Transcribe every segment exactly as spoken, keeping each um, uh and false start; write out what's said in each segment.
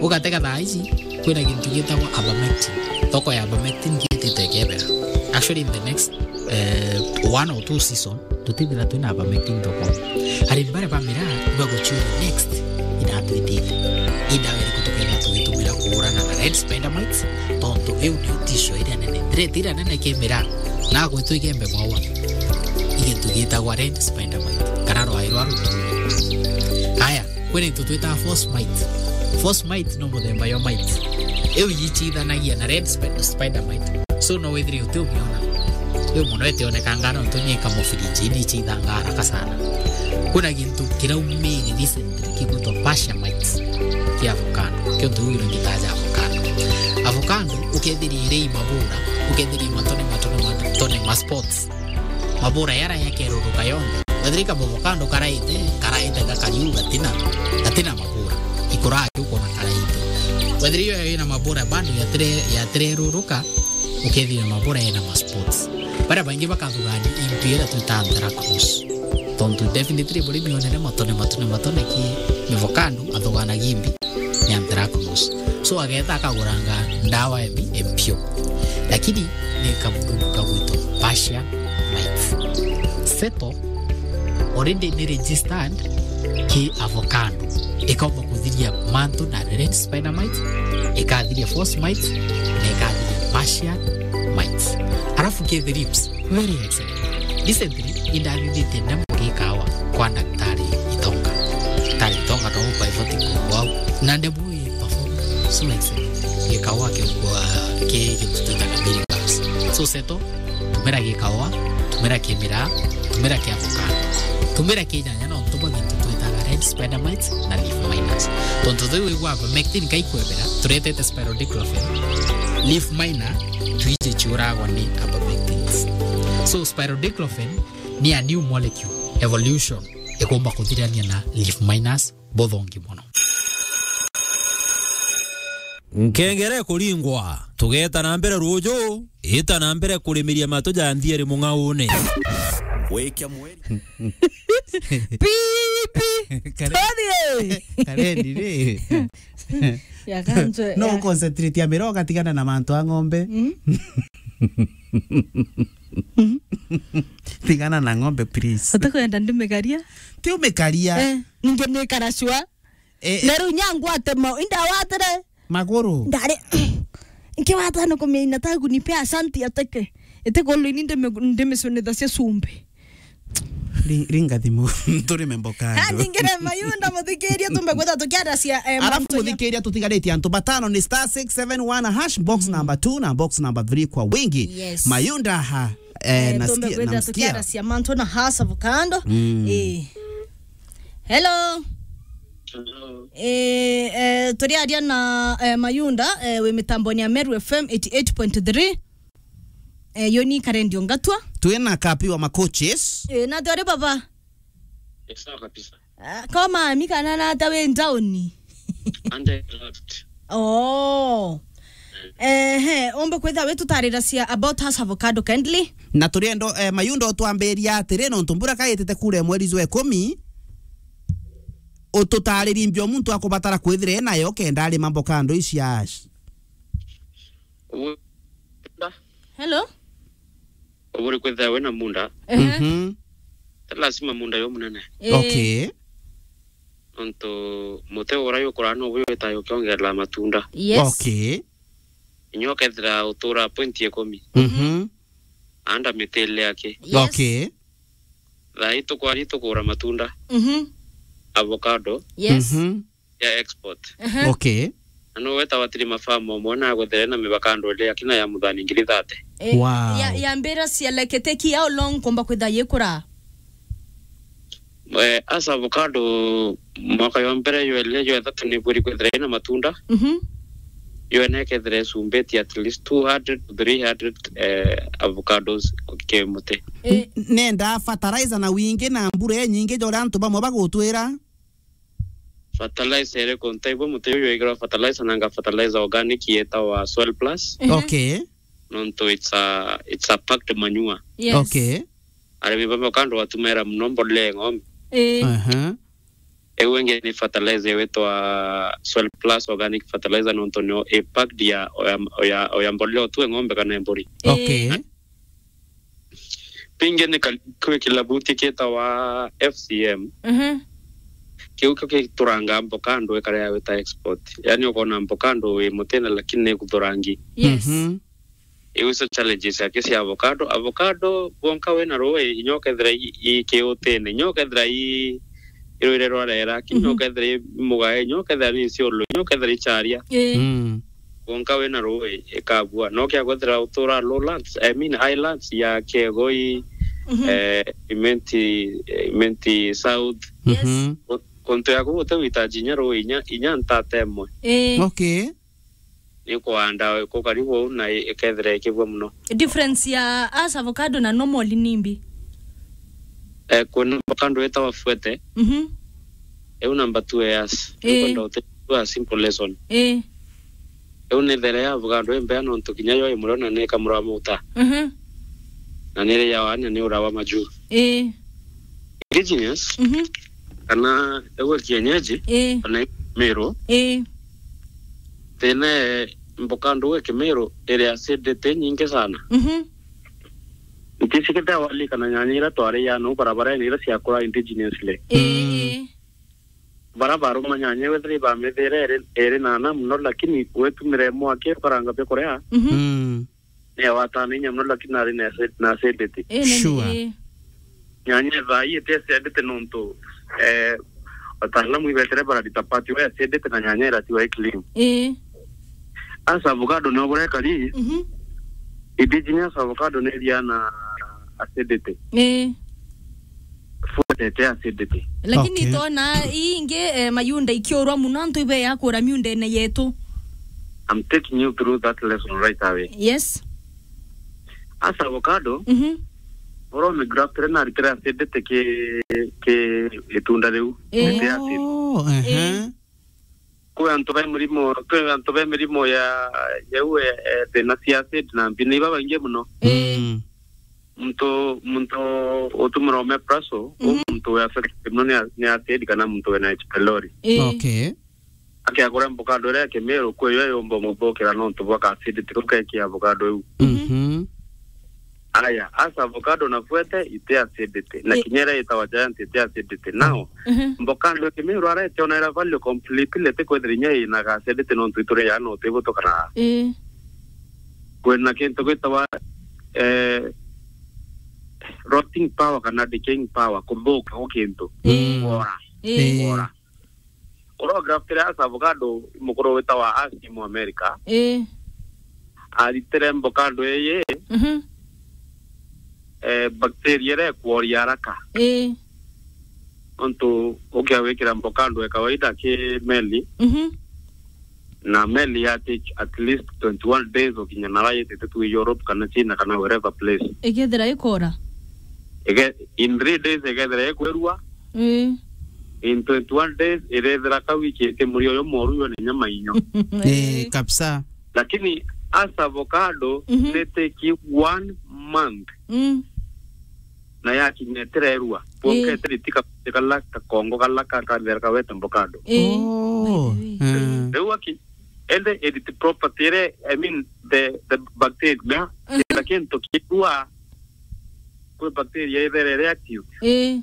Ugatega thaa ici, kwina gintu gitagwa ivermectin. Thoko ya ivermectin giitite ikebera. Actually, in the next, eh, one or two season, tutithira twina ivermectin thoko. Arimi baria ba miraa ibaguciuria next, inatwitite. Indawa iriku tukethira tugitumira kuurana na red spider mites? Tontu iu niyo tisho iria nene. Threat iria nene ki miraa, na gwitwa igembe mwawa, i gintu gitagwa red spider mite, kana rwai rwa rutuuri. Aya, kwina into twitaga false mite. False mite no muthemba yo mite. Iu ichithanagia na red sp-, spider mite. So no withire uti umiona. Iu mono itionekanga nontu ni kamufiriji, ni ichithanga haraka sana. Kwina gintu kiraumire recently kigwitwa pasha mite kia avocado. Kio ntu iu ngitaja avocado. Avocado ukethiria iri i mabura, ukethiria i matone, matone, matone, ma spots. Mabura yara yakeruruka yonthe. Wethira i kamuvokando karaite, karaite gakariu gatina, gatina mabura. Ikuraa kiu kwona karaite. Wethira iyo ina mabura bado yatire-, yatireruruka, ukethira mabura ina ma spots. Baria baingi bakathugania into iria twita anthracnose. Tontu definitely buri mionere matone, matone, matone ki mivokando athuganagia imbi ni anthracnose. So ageeta akaguranga ndawa embi empio. Lakini ni kamududu kagwitwa pasha mite. Settle already ni registered ki avocado. Ikaumba kuthiria mantu na red spider mite, ikathiria false mite, na ikathiria pasha mite. Alafu ki the lips, very excellent. Recently, indathithitie ndemu gikawa kwa daktari Itonga. Daktari Itonga no by voting kwa wau. Na ndemu i perform so excellent. Gikawa ki kwa ki gitutwitaga miracles. So settle, tumira gikawa, tumira ki miraa, tumira ki avocado. Tumira ki nyanya nontu bwa gintu twitaga red spider mite na leaf miners. Tontu thuu wigua ivermectin kai kwebera, turetete spironolactone. Leaf miner, twiji ciuragwa ni ivermectins. So spironolactone ni a new molecule evolution ikumba kuthirania na leaf miners buthongi mono. Nkengere kuringwa, tugeta na mbere ruju, ita na mbere kurimiria matu ja nthieri mung'aune. Wikia mweri. Pi, pi. Kare-, Todie. Karendi ri. Ya kanjwe, no ya. Concentrate ya mira ugatigana na mantu a ng'ombe. Mm. Tigana na ng'ombe, please. Utakwenda ndimikaria? Ti umikaria. Eh, ninge nikara sure. Eh, eh. Na riu nyangwate mo, indawatire. Maguru. Ndari, nkiwata no kumiina tagu ni pia asanti ateke. Ete golo ini ndime, ndime sunitha cia sumbe. Ri-, ringa thimu. Turime mboka. Ha, andu. Ningire Mayunda muthikiria tumbe kwitha tukiaracia, eh, alafu mantu ya muthikiria tutigaritie antu batano ni star six seven one hash, box number two na box number three kwa wingi. Yes. Mayunda ha, eh, eh, nasikia, tumbe kwitha namsikia. Tukiaracia mantu na hash avocado. Mm. Eh. Hello. Hello. Eh, eh, turiaria na, eh, Mayunda, eh, wi mitamboni ya Meru F M eighty eight point three. Eh, yo ni Karendi Ongatwa. Twina Kapi wa Macoaches. Eh, na twari baba. Ni sawa kabisa. Ah, koma, mi kana na ata wi ntauni? Ande left. Oh. Ehe, umbe kwitha wi tutariracia about hash avocado kindly. Na turiendo, eh, Mayunda utwambiria atiri, nontu mbura kaitite kuura mweri jwa ikumi, ututaririe mbio muntu akubatara kwithira enayo kenda arima mboka ndu ici hash. Ubu-, hello? Uburi kwithira wina munda. Ehe. Mhm. Ti lazima munda yo munene. Eh. Okay. Nontu muti uria yukuraa nobu witaga ukiongerera matunda. Yes. Okay. Inya ukethira utura point ikumi. Mhm. Anda mitile yake. Yes. Okay. Thaa ii tukwaria tukugura matunda. Mhm. Avocado. Yes. Mhm. Ya export. Aha. Okay. Na no weta watiri mafamu omwe na agwethere na mivakando ile akina ya muthani ngiri thate. Eh, wow. Ya, ya mbira cia leketeki, how long kumba kwitha yikura? Eh, as avocado, mwaka yo mbere yo ile yo ithatu ni bwiri kwithira ina matunda. Mhm. Yo ene kethire sumbeti at least two hundred to three hundred, eh, avocados ki muti. Eh. N-, nenda fertilizer na wingi na mbura inyingi ja uria antu bamwe bagutwira. Fertilizer iriku ntaigua muti uyu wigirwa fertilizer nanga fertilizer organic yetawa Soil Plus. Ehe. Okay. Nontu it's a, it's a packed manure. Yes. Okay. Arimi bamwe kando batumira muno mbolea ya ng'ombe. Eh. Aha. Iu ingi ni fertilizer witwa Soil Plus organic fertilizer, nontu nio ipacked ya oya, oya, oya mbolea utue ng'ombe kana mburi. Okay. Pingi ni ka-, kwi kilabuti kitawa F C M. Mhm. Kiu kio kituranga avocado ikarea wita export. Yani ukona avocado wi mutine lakini ni kuthurangi. Yes. Mhm. Iu icio challenges yake cia avocado. Avocado, wonka wina rui, inya ukethira i, i kiutine, inya ukethira i, i rwire rwa rera, kinya Mhm. ukethira i mugae, inya ukethira ni ciulu, inya ukethira i charia. Ii. Mm. Wonka wina rui, ikabua. No kia kwethira utura lowlands, I mean highlands ya Kiegoi, Mhm. eh, Imenti, Imenti South. Yes. Mhm. Ku-, kuntu ya kuu uti witaji inya rui, inya, inya ntate imwe. Ii. Okay. Ni kuanda ku karibu uu na i-, ikethira ikibua muno. Difference ya as avocado na normal ni mbi? Eh, kwina avocado itawa fuete. Mhm. Iu number two years. Ii. Iu kwenda uti-, tu a simple lesson. Ii. Iu ni there ya avocado imbea nontu kinya yo imurona ni kamura muta. Mhm. Na ni ri ya wana ni urawa maju. Ii. Indigenous, Mhm. kana ewe kienyeji, Ii. kana Meru, Ii. tene mboka ndugu ya Kimeru iri acidity nyingi sana. Mhm. Ntisikite awali kana nyanya ira twari ya no barabarene ira ciakura indigenously. Ii, Mm. ii. Bara baruma nyanya iwe thiri bamithire iri, iri nana muno, lakini wetumire mwaki ukaranga bia kuria. Mhm. Mm. Ni awatana inya muno, lakini ari na acid-, na acidity. Ii, ni, Sure. ii. Nyanya thaa ii iti acidity nontu, eh, wataalamu ibetere bararita part we acidity na nyanya iratiwa i clean. Ii. As avocado ni obore kari, Mhm. indigenous avocado ni iriana acidity. Ii. Fuetete acidity. Lakini Okay. tona ii ingi, eh, mayunda ikiurwa muno, antu ibe ya kura miundene yetu. I'm taking you through that lesson right away. Yes. As avocado, Mhm. oro me graftire na ritire acidity ki, ki itunda riu. Eh. Iti acid. Oh, ehe. Eh. Kwi antu be mirimo, kwi antu be mirimo ya, ya u, eh, eh, thina cia acid na mbi ni babaingi muno. Eh. Mm. Muntu, muntu utumira omeprazole, u Mhm. muntu we affected muno ni a-, ni acid kana muntu wina H. pylori. Eh. Okay. Akiagura avocado iria ya Kimeru, kwi yo yumba muthukira nontu bwa ka acidity kau kekia avocado iu. Mhm. Mhm. Aya, as avocado na fuete iti acidity, na Eh. kinya iria itawa giant iti acidity. Now, Mhm. avocado ya Kimeru ara itiona ira value completely, ti kwithira inya ina ka acidity nontu ituri ya no tibutukana. Eh. Kwina kintu gwitawa, eh, rotting power kana decaying power, kuthuka gwa kintu. Eh. Kwora. Eh. Kwora. Uria ugraftire as avocado, mukuru witawa Asim America. Eh. Aritire avocado iyi, Mhm. eh, bacteria iria ikworia haraka. Eh. Nontu ukiawikira avocado ya kawaida ki meli, Mhm. na meli ya take at least twenty-one days ukinya nara yitite tu Europe kana China kana wherever place. Ikethira ikora? Ige-, in three days ikethira ikwirua. Eh. In twenty-one days irethira ka wiki iti murio yo moru yo ni nyama inyo. Eh, Eh. kabisa. Lakini as avocado, Mhm. ni take one month. Mm. Na yakinya itirerua. Ii. Kuonka itiri tika kala kakongo kala kakathera kawete avocado. Ii. Oh, by the way. Eh. Riu aki, ende edit property ire, I mean, the, the bacteria, Mhm. kila kintu kirua, kwi bacteria ithere reactive. Ii.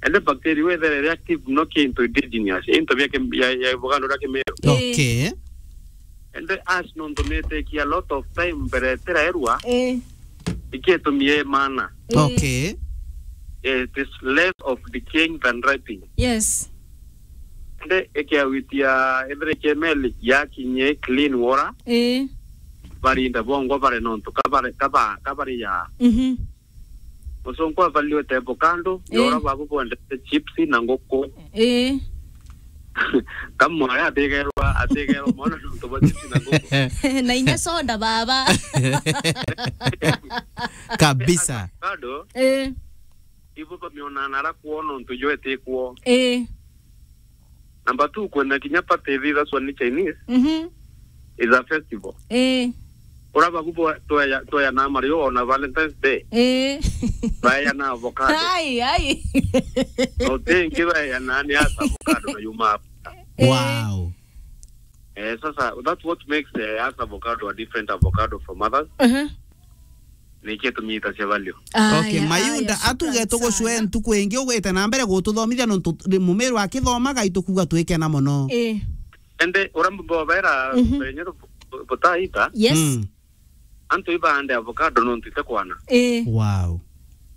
Ende bacteria ithere reactive no kintu indigenous, into bia kim-, ya, ya avocado ria Kimeru. Ii. Okay. Ende as nontu ni take a lot of time mbere itiraerua, Ii. ikitumia mana. Ii. Okay. It is less of decaying than ripening. Yes. Ende ikiawitia ethire kemeli yakinye clean water. Ii. Barinda bongo bare nontu kabare, kaba-, kabare ya. Mhm. Musungu avaliwe tebo kando, Ii. yora babu bwendete chips na nguku. Ii. Kamwaya atigerwa, atigerwa mwana nontu bwa chips na nguku. Na inya soda, baba. Kabisa. Kando, Ii. ibu bamionana ara kwona ntu jwete kwoo. Ii. Number two, kwena kinya party ithithaswa ni Chinese, Mhm. is a festival. Ii. Ura bagu bwa-, tweya-, tweyanaa mario ona Valentine's Day. Eh. Baeyanaa avocado. Ai, ai. No tingi baeyanaa ni asa avocado na yuma Africa. Eh. Wow. Eh, sasa, that's what makes, eh, us avocado a different avocado from others. Uh-huh. Niki tumiita cia value. Aya, okay, Mayunda, aya, atuge shukran tugucwe sana. Ntuku ingi ugwite na mbere gututhomithia nontu ri-, mumiru akithomaga itukuga twikena mono. Eh. Ende, ura mbobera, mhm, benye bu-, butaita. Yes. Mm. Antu ibaande avocado nontu itekwana. Eh. Wow.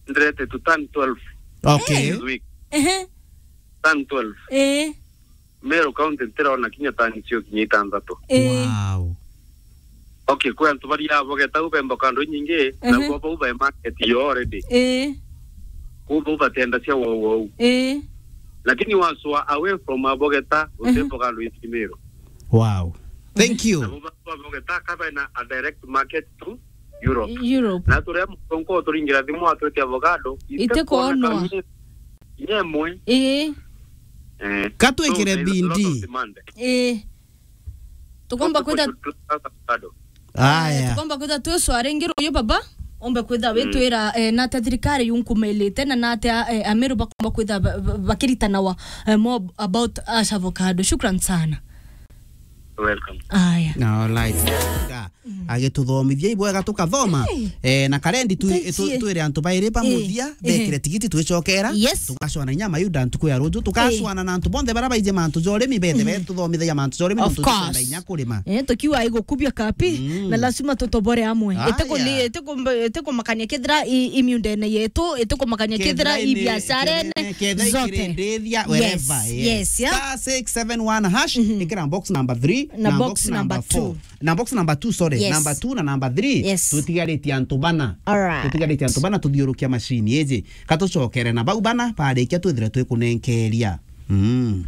Ndirete to turn twelve. Okay. This week. Ehe. Turn twelve. Eh. Meru County ntirona kinya tani cio kinya itanthatu. Eh. Wow. Okay, kwi antu baria avocado u bemba kando nyingi, ehe, na bo bau be market yo already. Eh. Kuu bau batenda cia wau wau. Eh. Lakini waswa away from avocado, ehe, utemba kando isi Meru. Wow. Thank you. Na bo ba-, avocado ka bena a direct market to Europe. Europe. Na turia mutonko turingira thimu atwete avocado, itekwonwa. Itekwonwa kamwe. Yemwe. Ii. Eh. Katwikire so, there's a lot of bindi. Demand. Ii. Tukomba kwitha, avocado. Aya. Tukomba kwitha twicwa ringi ruyu baba. Ombe kwitha, mm, witwira, eh, na ta thirikari yunkumailite na na atia, eh, Ameru bakomba kwitha ba-, ba-, bakiritanawa, eh, more about us avocado. Shukran sana. Welcome. Aya. All right. Ga, mm, agituthomithia ibwega tukathoma. Hey. Eh, na karendi tu-, tu-, twire antu bairi ba muthia, eh, bekire tigiti twicokera. Yes. Tugacwana inya Mayunda ntuku ya ruju. Tugacwana na antu bonthe bara baije mantu jorimi bethe, mm, betuthomithagia mantu jorimi. Of course. Nontu tukwenda inya kurima. Eh, tukiwa igukubia kapi, mm, na lazima tutobore amwe. Aya. Itiku-, itiku-, itikumakania kethira i-, imiundene yetu, itikumakania kethira ibiasharene, kethira ikirindithia, wherever, yes, yes, yeah. Star six seven one hash, mhm, ikira box number three, na box number two. Na box number two, sorry, yes, number two na number three. Yes. Tutigaritie antu bana. All right. Tutigaritie antu bana tuthiurukia machine iji. Katucokere na bau bana, barikia twithire twikunenkeria. Mm.